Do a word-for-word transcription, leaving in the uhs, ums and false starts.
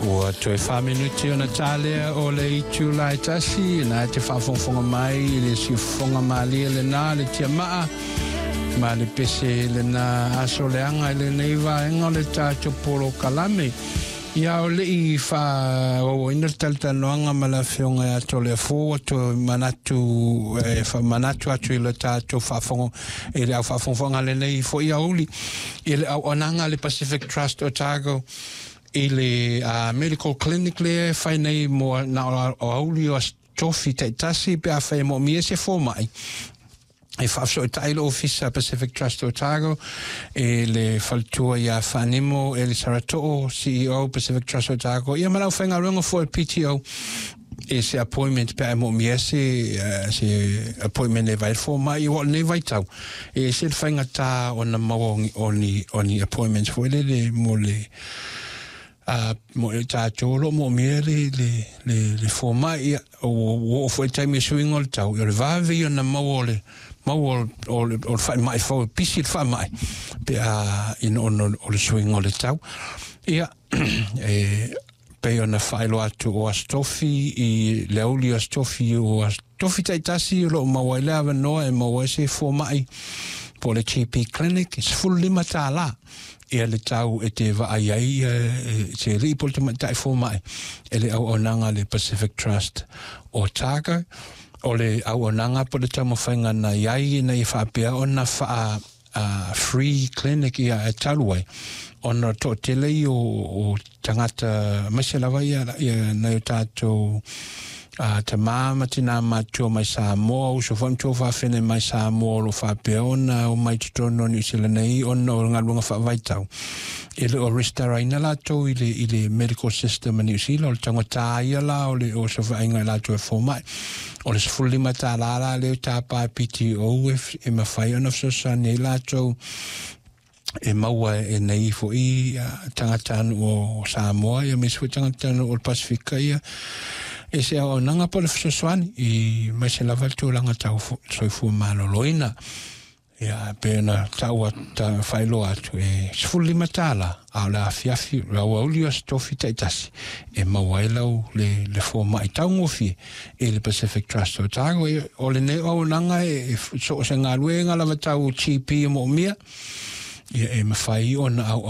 Ua toe fa minuti ona talea o le itula e tasi, na te faafogafoga mai i le siufofoga malie lena le tiamaa ma le pese lena aso leaga i lenei vaega o le tatou polokalame. Ia o lei faaauauina le talatalanoaga ma le afioga ia Toleafoa, ua toe manatu e faamanatu atu i le tatou faafogo i le au faafogafoga lenei foi aoauli i le auaunaga a le Pacific Trust Otago i le uh, medical clinic lea e fai nei mo na o aoauli o Aso Tofi taitasi pe afai e moomia se fomai e faafesootai le ofisa Pacific Trust Otago e le faletua ia Faanimo Eli Saratoo, C E O Pacific Trust Otago, ia ma le aufaigaluega foi P T O e se appointment pe a moomia se uh, se appointment e vai fomai o lenei vaitau e se le faigata ona maua o ni o ni appointments foi lele mo le a mo e tatou o lo o moomia le le le le fomai. Ia ua oo foi taimi e suiga o le tau, o le vave ia ona maua o le maua o le o le faamai fou e pisi le faamai pe a ina ona o le suiga o le tau. Ia e pei ona faailoa atu o Aso Tofi i le aoauli o Aso Tofi o Aso Tofi taitasi o lo o maua ai le avanoa e maua ai se fomai po o le G P clinic e sefulu lima tālā ia le tau e te vaai ai se alii po o le tamaitai fomai e le auaunaga le Pacific Trust Otago. O le auaunaga po o le taumafaiga na i ai ina ia faapea ona faa uh, free clinic ia e talu ai ona toatele ia o, o tagata aemaise lava ia, ia nai o tatou uh, tamā ma tinā matutua mai Samoa, uso foi ma tuafafine mai Samoa o lo o faapea ona omai totonu o Niu Sila nei ona o galuega faavaitau e le o resitalaina latou i le, i le medical system a Niu Sila. O le taugata ia la o le o se vaaiga i latou e fomai. O le sefulu lima tālā la lea tapa e P T O e, e mafai ona fesoasoani ai latou e maua e nei fo'i tagata o Samoa ia aemaise foi tagata o le Pasifika ia e se auaunaga po o le fesoasoani i maise lava le tulaga tau soifua maloloina. Ia pe na taua ta faailoa atu e sefulu lima tālā a o le afiafi le aoauli o Aso Tofi taitasi e maua ai lau le, le fomai taugofie e le Pacific Trust Otago. O lenei auaunaga e so o se galuega lava tau G P e moomia ia e mafai ona au